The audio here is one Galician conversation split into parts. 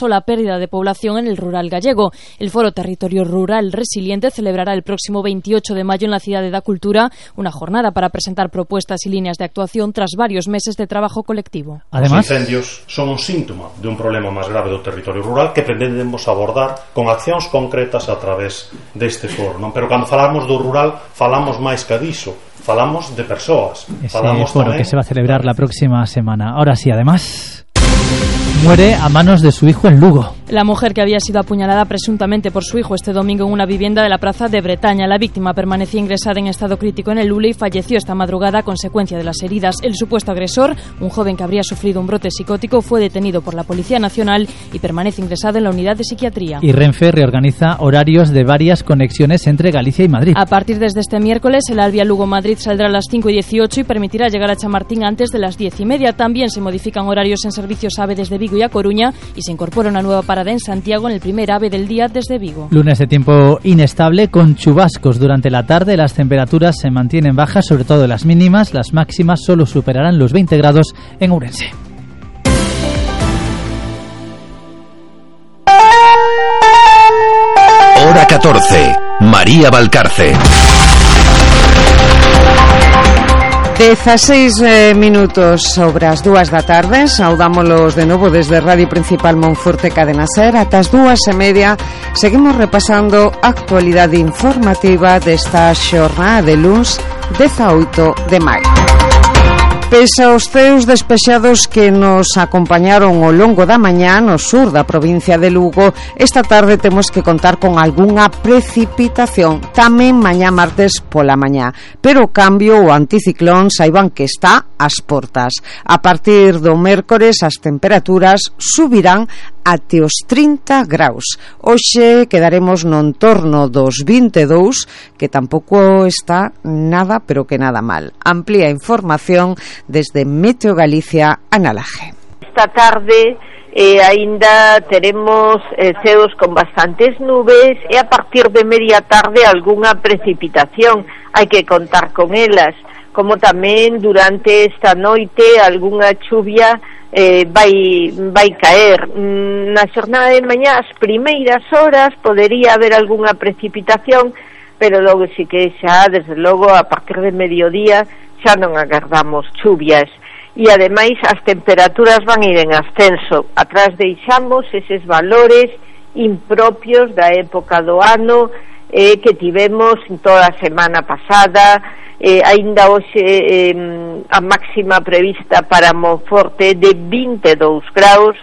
la pérdida de población en el rural gallego. El Foro Territorio Rural Resiliente celebrará el próximo 28 de mayo en la Cidade da Cultura una jornada para presentar propuestas y líneas de actuación tras varios meses de trabajo colectivo. Además, os incendios son un síntoma de un problema máis grave do territorio rural que pretendemos abordar con accións concretas a través deste foro, non? Pero cando falamos do rural, falamos máis que diso. Falamos de persoas. Ese foro que se va a celebrar la próxima semana. Ahora sí, además, muere a manos de su hijo en Lugo. La mujer que había sido apuñalada presuntamente por su hijo este domingo en una vivienda de la plaza de Bretaña. La víctima permanecía ingresada en estado crítico en el Lule y falleció esta madrugada a consecuencia de las heridas. El supuesto agresor, un joven que habría sufrido un brote psicótico, fue detenido por la Policía Nacional y permanece ingresado en la unidad de psiquiatría. Y Renfe reorganiza horarios de varias conexiones entre Galicia y Madrid. A partir desde este miércoles, el Alvia Lugo-Madrid saldrá a las 5:18 y permitirá llegar a Chamartín antes de las 10:30. También se modifican horarios en servicios AVE desde Vigo y A Coruña y se incorpora una nueva parada en Santiago en el primer AVE del día desde Vigo. Lunes de tiempo inestable con chubascos durante la tarde. Las temperaturas se mantienen bajas, sobre todo las mínimas. Las máximas solo superarán los 20 grados en Ourense. Hora 14. María Valcarce. 16 minutos sobre as 2 da tarde. Saudámolos de novo desde Radio Principal Monforte Cadena Ser. Ata as 2:30 seguimos repasando a actualidade informativa desta xornada de luns 18 de maio. Pese aos ceos despexados que nos acompañaron ao longo da mañá no sur da provincia de Lugo, esta tarde temos que contar con algunha precipitación tamén mañá martes pola mañá, pero o cambio, o anticiclón, saiban que está ás portas. A partir do mércores as temperaturas subirán até os 30 graus. Hoxe quedaremos no entorno dos 22, que tampouco está nada, pero que nada mal. Amplía información desde Meteo Galicia, Ana Laje. Esta tarde aínda teremos ceos con bastantes nubes e a partir de media tarde algunha precipitación. Hai que contar con elas, como tamén durante esta noite algunha chuvia vai caer. Na xornada de mañá, as primeiras horas podería haber algunha precipitación, pero logo si que xa, desde logo, a partir de mediodía xa non agardamos chuvias. E ademais as temperaturas van ir en ascenso. Atrás deixamos eses valores impropios da época do ano que tivemos toda a semana pasada. Aínda hoxe a máxima prevista para Monforte de 22 graus,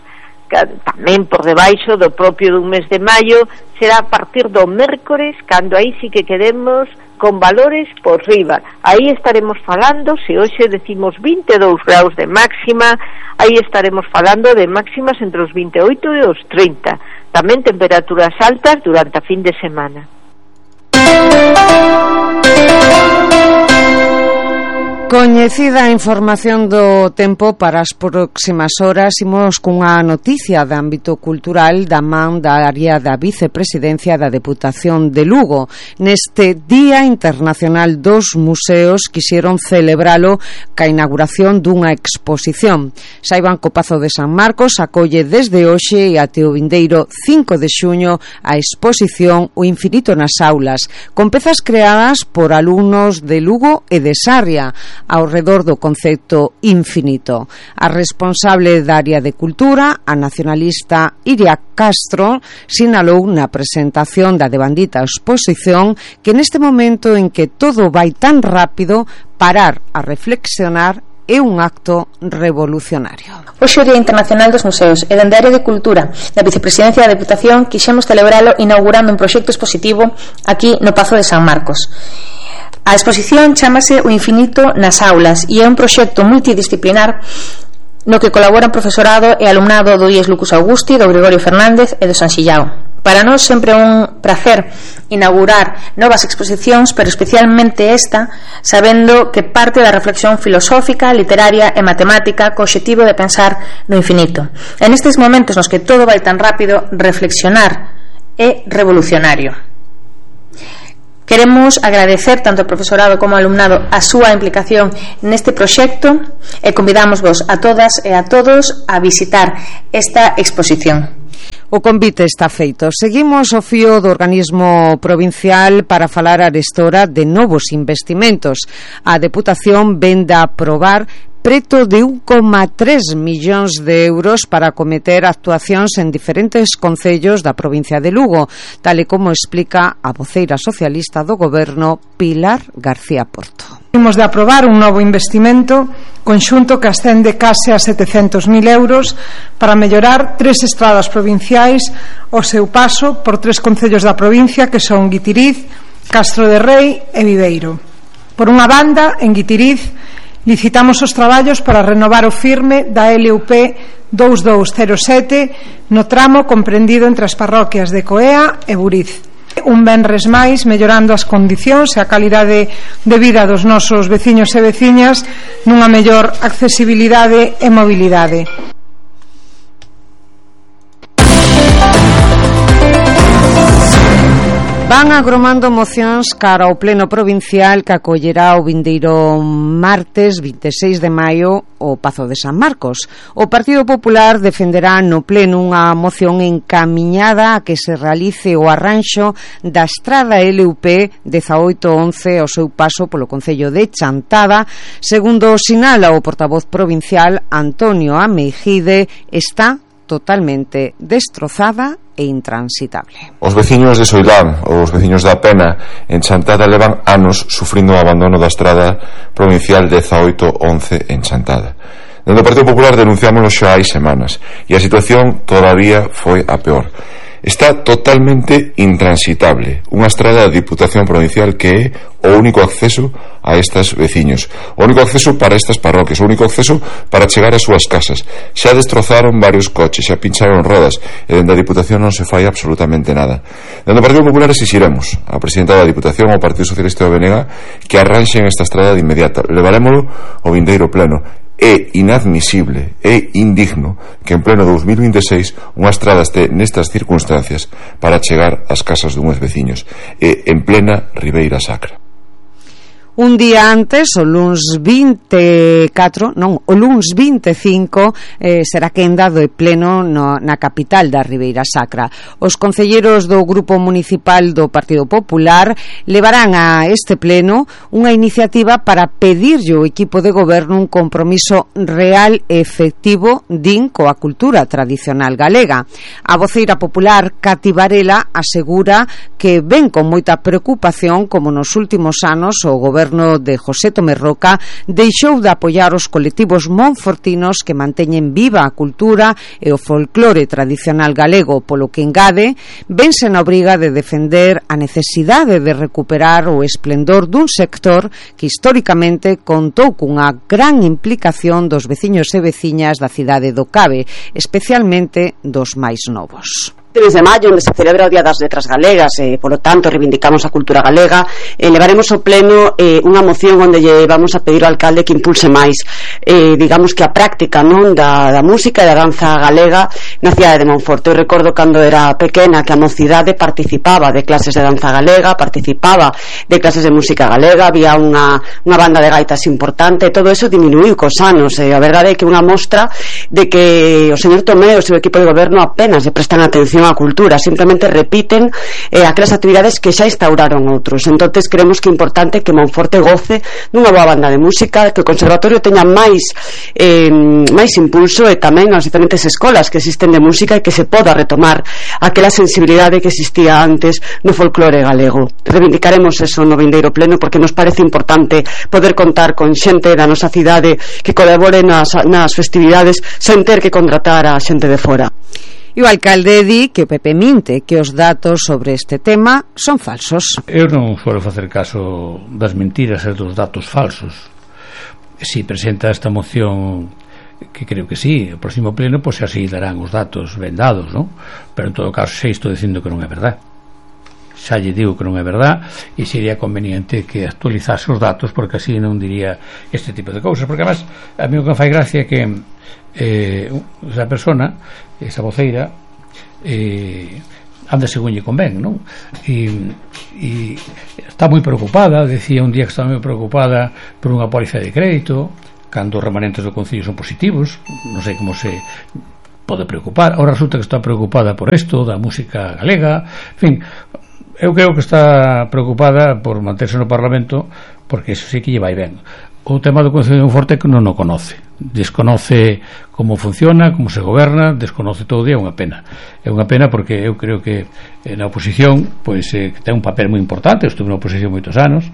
tamén por debaixo do propio dun mes de maio. Será a partir do mércores cando aí sí que quedemos con valores por riba. Aí estaremos falando, se hoxe decimos 22 graus de máxima, aí estaremos falando de máximas entre os 28 e os 30. Tamén temperaturas altas durante a fin de semana. Coñecida a información do tempo para as próximas horas, imos cunha noticia de ámbito cultural da man da área da Vicepresidencia da Deputación de Lugo. Neste Día Internacional dos Museos quixeron celebralo ca inauguración dunha exposición. Saiban que o Pazo de San Marcos acolle desde hoxe e até o vindeiro 5 de xuño a exposición O Infinito nas Aulas, con pezas creadas por alumnos de Lugo e de Sarria, ao redor do concepto infinito. A responsable da área de cultura, a nacionalista Iria Castro, sinalou na presentación da devandita exposición que neste momento en que todo vai tan rápido, parar a reflexionar é un acto revolucionario. Hoxe o Día Internacional dos Museos e dende a área de cultura da Vicepresidencia da Deputación quixemos celebralo inaugurando un proxecto expositivo aquí no Pazo de San Marcos. A exposición chámase O Infinito nas Aulas e é un proxecto multidisciplinar no que colaboran profesorado e alumnado do IES Lucas Augusti, do Gregorio Fernández e do San Xillao. Para nós sempre é un prazer inaugurar novas exposicións, pero especialmente esta, sabendo que parte da reflexión filosófica, literaria e matemática co obxectivo de pensar no infinito. En estes momentos nos que todo vai tan rápido, reflexionar é revolucionario. Queremos agradecer tanto ao profesorado como ao alumnado a súa implicación neste proxecto e convidamos vos a todas e a todos a visitar esta exposición. O convite está feito. Seguimos o fío do organismo provincial para falar arestora de novos investimentos. A Deputación vende a aprobar preto de 1,3 millóns de euros para acometer actuacións en diferentes concellos da provincia de Lugo, tal e como explica a voceira socialista do Goberno, Pilar García Porto. Imos de aprobar un novo investimento conxunto que ascende case a 700.000 euros para mellorar 3 estradas provinciais o seu paso por 3 concellos da provincia que son Guitiriz, Castro de Rei e Viveiro. Por unha banda, en Guitiriz licitamos os traballos para renovar o firme da LUP 2207 no tramo comprendido entre as parroquias de Coea e Buriz. Un venres máis mellorando as condicións e a calidade de vida dos nosos veciños e veciñas nunha mellor accesibilidade e mobilidade. Van agromando mocións cara ao pleno provincial que acollerá o vindeiro martes 26 de maio o Pazo de San Marcos. O Partido Popular defenderá no pleno unha moción encamiñada a que se realice o arranxo da estrada LUP 1811 ao seu paso polo concello de Chantada. Segundo sinala o portavoz provincial Antonio Ameijide, está totalmente destrozada e intransitable. Os veciños de Soilán ou os veciños da Pena en Chantada levan anos sufrindo o abandono da estrada provincial 1811 en Chantada. Dende o Partido Popular denunciámoslo xa hai semanas e a situación todavía foi a peor. Está totalmente intransitable, unha estrada da Diputación Provincial que é o único acceso a estes veciños, o único acceso para estas parroquias, o único acceso para chegar ás súas casas. Xa destrozaron varios coches, xa pincharon rodas e dende a Diputación non se fai absolutamente nada. Dende o Partido Popular exixiremos a presidenta da Diputación ao Partido Socialista do BNG que arranxen esta estrada de inmediato. Levarémolo ao vindeiro pleno. É inadmisible, é indigno que en pleno 2026 unha estrada este nestas circunstancias para chegar ás casas dunhos veciños e en plena Ribeira Sacra. Un día antes, o luns 25, será quenda do pleno na capital da Ribeira Sacra. Os concelleiros do Grupo Municipal do Partido Popular levarán a este pleno unha iniciativa para pedirlle ao equipo de goberno un compromiso real e efectivo din coa cultura tradicional galega. A voceira popular Cati Varela asegura que ven con moita preocupación como nos últimos anos o goberno de José Tomé Roca deixou de apoiar os colectivos monfortinos que manteñen viva a cultura e o folclore tradicional galego, polo que engade vense na obriga de defender a necesidade de recuperar o esplendor dun sector que históricamente contou cunha gran implicación dos veciños e veciñas da cidade do Cabe, especialmente dos máis novos. Este mes de maio, onde se celebra o Día das Letras Galegas e, polo tanto, reivindicamos a cultura galega, levaremos ao pleno unha moción onde lle vamos a pedir ao alcalde que impulse máis digamos que a práctica non da música e da danza galega na cidade de Monforte. Eu recordo cando era pequena que a mocidade participaba de clases de danza galega, participaba de clases de música galega, había unha banda de gaitas importante e todo eso diminuiu cos anos. A verdade é que unha mostra de que o señor Tomé e o seu equipo de goberno apenas lle prestan atención a cultura, simplemente repiten aquelas actividades que xa instauraron outros. Entonces creemos que é importante que Monforte goce dunha boa banda de música, que o conservatorio teña máis impulso e tamén as diferentes escolas que existen de música e que se poda retomar aquela sensibilidade que existía antes no folclore galego. Reivindicaremos eso no vindeiro pleno porque nos parece importante poder contar con xente da nosa cidade que colabore nas festividades sen ter que contratar a xente de fora. E o alcalde di que o PP minte que os datos sobre este tema son falsos. Eu non suelo facer caso das mentiras e dos datos falsos. Si presenta esta moción, que creo que sí, o próximo pleno, pois así darán os datos vendados, non? Pero en todo caso xa estou dicindo que non é verdade. Xa lle digo que non é verdade e sería conveniente que actualizase os datos porque así non diría este tipo de cousas, porque además a mí o que me fai gracia é que esa persona, esa voceira anda según lle convén, non? E está moi preocupada, decía un día que está moi preocupada por unha póliza de crédito cando os remanentes do Concello son positivos, non sei como se pode preocupar. Ahora resulta que está preocupada por isto da música galega, en fin, eu creo que está preocupada por manterse no Parlamento, porque eso sí que lle vai ben. O tema do Concello de Monforte que non o conoce, desconoce como funciona, como se goberna, desconoce todo, e é unha pena porque eu creo que na oposición pois ten un papel moi importante. Eu estuve na oposición moitos anos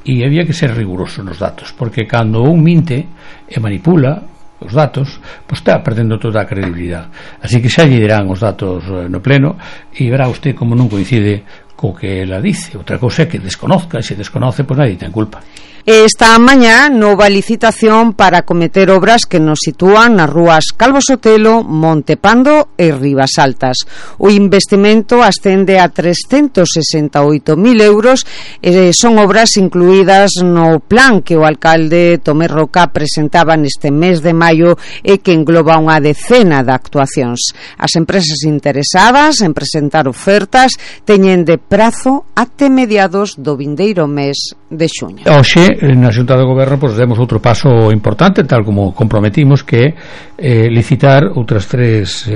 e había que ser riguroso nos datos, porque cando un minte e manipula os datos, pois está perdendo toda a credibilidade. Así que xa lle dirán os datos no pleno e verá usted como non coincide co que ela dice. Outra cousa é que desconozca, e se desconoce, pois nadie ten culpa. Esta mañá, nova licitación para acometer obras que nos sitúan nas rúas Calvo Sotelo, Montepando e Ribasaltas. O investimento ascende a 368.000 euros e son obras incluídas no plan que o alcalde Tomé Roca presentaba neste mes de maio e que engloba unha decena de actuacións. As empresas interesadas en presentar ofertas teñen de prazo até mediados do vindeiro mes de xuño. Hoxe, na Xunta de Goberno, pois demos outro paso importante, tal como comprometimos, que é licitar outras tres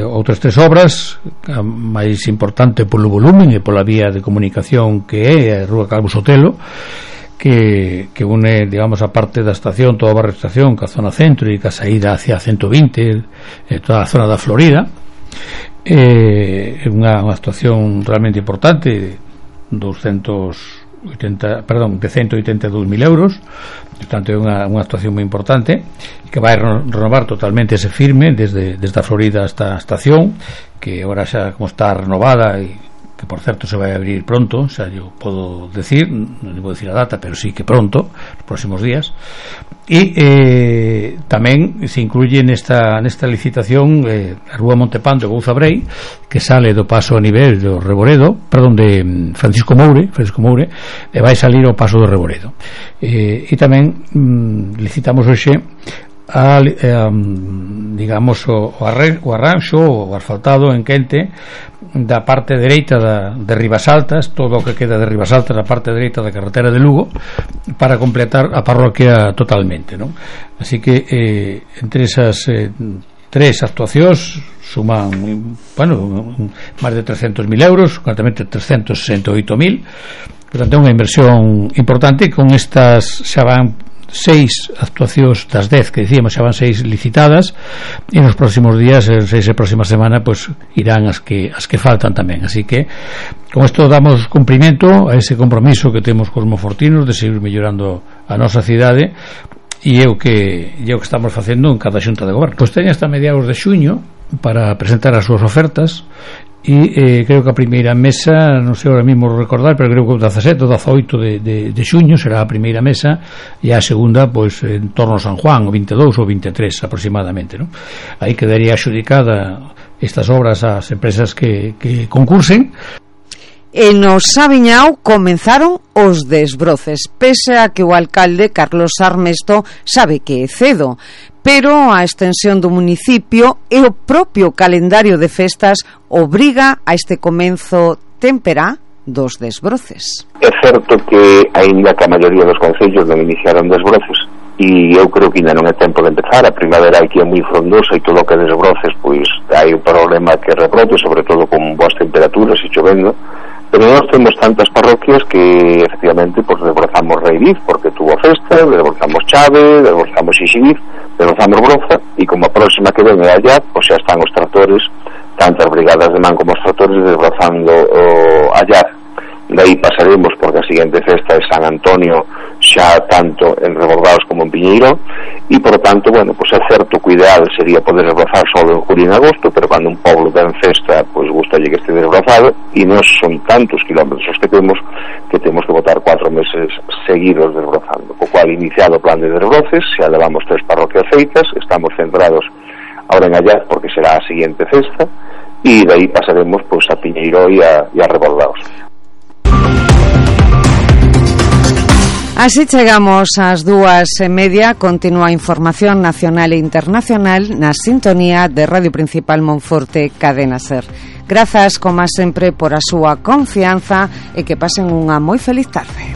obras, a máis importante polo volumen e pola vía de comunicación que é a Rúa Calvo Sotelo, que une, digamos, a parte da estación, toda a barra estación, ca zona centro e ca saída hacia 120, toda a zona da Florida. É unha actuación realmente importante, de 182.000 euros. Portanto, é unha actuación moi importante que vai renovar totalmente ese firme desde a Florida hasta a estación, que agora xa como está renovada e que por certo se vai abrir pronto, xa yo podo decir, non vou decir a data, pero sí que pronto, nos próximos días. E tamén se incluye nesta licitación a Rúa Montepando e Gouza Brei, que sale do paso a nivel do Reboredo, de Francisco Moure, e vai salir ao paso do Reboredo. E tamén licitamos hoxe digamos o arranxo, o asfaltado en quente da parte dereita de Ribasaltas, todo o que queda de Ribasaltas na parte dereita da carretera de Lugo, para completar a parroquia totalmente, non? Así que entre esas tres actuacións suman, máis de 300.000 euros, concretamente 368.000. Portanto, é unha inversión importante. Con estas xa van 6 actuacións das 10 que dicíamos, xa van 6 licitadas, e nos próximos días, en 6 e próxima semana, pois irán as que faltan tamén. Así que con isto damos cumprimento a ese compromiso que temos cos monfortinos de seguir mellorando a nosa cidade, e é o que estamos facendo en cada xunta de goberno. Pois teña hasta mediados de xuño para presentar as súas ofertas, e creo que a primeira mesa, non sei ahora mesmo recordar, pero creo que o 17 ou 18 de xuño será a primeira mesa, e a segunda pois en torno a San Juan, o 22 ou 23 aproximadamente, non? Aí quedaría axudicada estas obras ás empresas que concursen. E no Sabiñao comenzaron os desbroces, pese a que o alcalde Carlos Armesto sabe que é cedo, pero a extensión do municipio e o propio calendario de festas obriga a este comenzo témpera dos desbroces. É certo que aínda que a maioría dos concellos non iniciaron desbroces, e eu creo que ainda non é tempo de empezar. A primavera aquí é moi frondosa e todo o que desbroces, pois hai un problema que rebrote, sobre todo con boas temperaturas e chovendo. Pero nós temos tantas parroquias que efectivamente pues desbrozamos Reiviz porque tuvo festa, desbrozamos Chave, desbrozamos Xixiviz, desbrozamos Broza, e como a próxima que ven é allá, pues xa están os tractores, tanto as brigadas de man como os tractores desbrozando allá. De aí pasaremos porque a seguinte festa é San Antonio, xa tanto en Rebordados como en Piñeiro, e por tanto, bueno, pues é certo que o ideal sería poder desbrozar solo en julio e en agosto, pero cando un poblo ten festa, pues gustalle que este desbrozado, e non son tantos kilómetros que temos que botar 4 meses seguidos desbrozando, co cual iniciado o plan de desbroces, xa levamos 3 parroquias feitas, estamos centrados ahora en Allá porque será a seguinte festa, e de aí pasaremos pues a Piñeiro e a Rebordados. Así chegamos ás 2:30. Continúa a información nacional e internacional na sintonía de Radio Principal Monforte, Cadena Ser. Grazas, como sempre, por a súa confianza e que pasen unha moi feliz tarde.